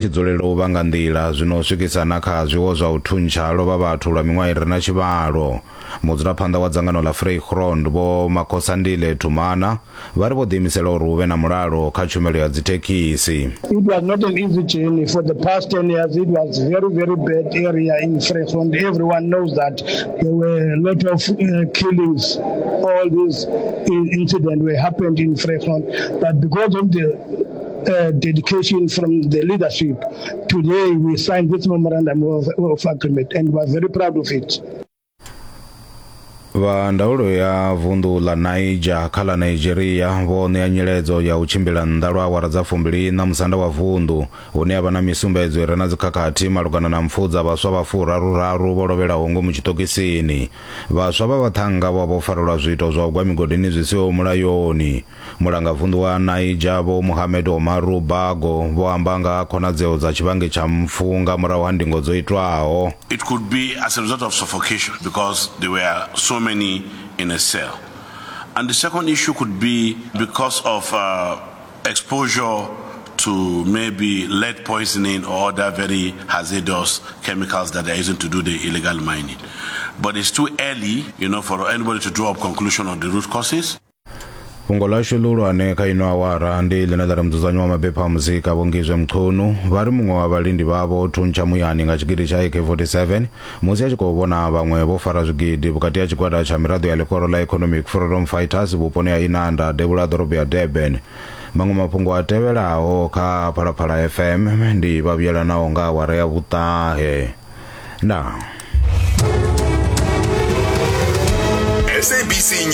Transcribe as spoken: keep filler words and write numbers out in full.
Tshi dzulela u vhanga nḓila zwino swikisa na kha zwiwo zwa u thuntsha lovha vhathu lwa miṅwaha i re na tshivhalo. Mudzulaphanḓa wa dzangano ḽa Vrygrond Vho Makhosandile Tumana vha ri vho ḓiimisela uri hu vhe na mulalo kha tshumelo ya dzithekhisi. It was not an easy journey. For the past ten years, it was very, very bad area in Vrygrond. Everyone knows that there were a lot of uh, killings. All these incidents were happened in Vrygrond. But because of the uh, dedication from the leadership, today we signed this memorandum of, of agreement and we are very proud of it. Vha ndaulo ya vunḓu ḽa Niger kha ḽa Nigeria vho ṋea nyiledzo ya u tshimbila nnḓa lwa awara dza fumbili na musanda wa vunḓu hune ha vha na misumbedzo i re na dzikhakhathi malugana na mpfu dza vhaswa vha furaruraru vho lovhelaho ngomu tshiṱokisini. Vhaswa vha vhaṱhannga vho vha vho farelwa zwiito zwa u gwa migodini zwi siho mulayoni. Mulangavunḓu wa Niger Vho Mohammed Omaru Bago vho amba nga khonadzeo dza tshivhangi tsha mpfu nga murahu ha ndingo dzo itwaho. It could be as a result of suffocation because there were so many in a cell. And the second issue could be because of uh, exposure to maybe lead poisoning or other very hazardous chemicals that they're using to do the illegal mining. But it's too early, you know, for anybody to draw up conclusion on the root causes. Fhungo ḽashu ḽihulwane kha ino awara ndi ḽine ḽa ri mudzudzanyi wa mabepha a muzika Vho Ngizwe Mchunu vha ri muṅwe wa vhalindi vhavho o thuntsha muyani nga tshigidi tsha A K forty-seven musi a tshi khou vhona vhaṅwe vho fara zwigidi vhukati ha tshigwada tsha miraḓo ya ḽihoro ḽa Economic Freedom Fighters vhuponi ha Inanda devhula ha ḓorobo ya Durban. Maṅwe mafhungo a tevhelaho kha Phalaphala F M ndi vha vhuyelanaho nga awara ya vhuṱahe. Ndaa. S A B C.